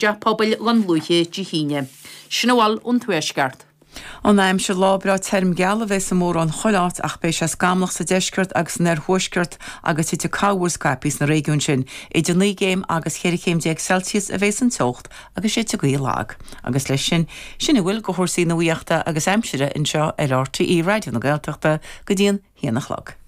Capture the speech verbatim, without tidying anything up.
dTeach Pobail Dhún Lúiche Dé hAoine. Sin a bhfuil ón Tuaisceart. An aimsir lá breá tirim geal a bheas i mórán chuile áit ach beidh sé scamallach sa deisceart agus san oirthuaisceart agus titfidh corrmhúr scaipthe sna réigiúin sin. Idir naoi gcéim agus ceithre chéim déag Celsius a bheas an teocht agus séidfidh gaoth lag. Agus leis sin sin a bhfuil de chúrsaí nuachta agus aimsire anseo ar RTÉ Raidió na Gaeltachta go dtí an haon a chlog.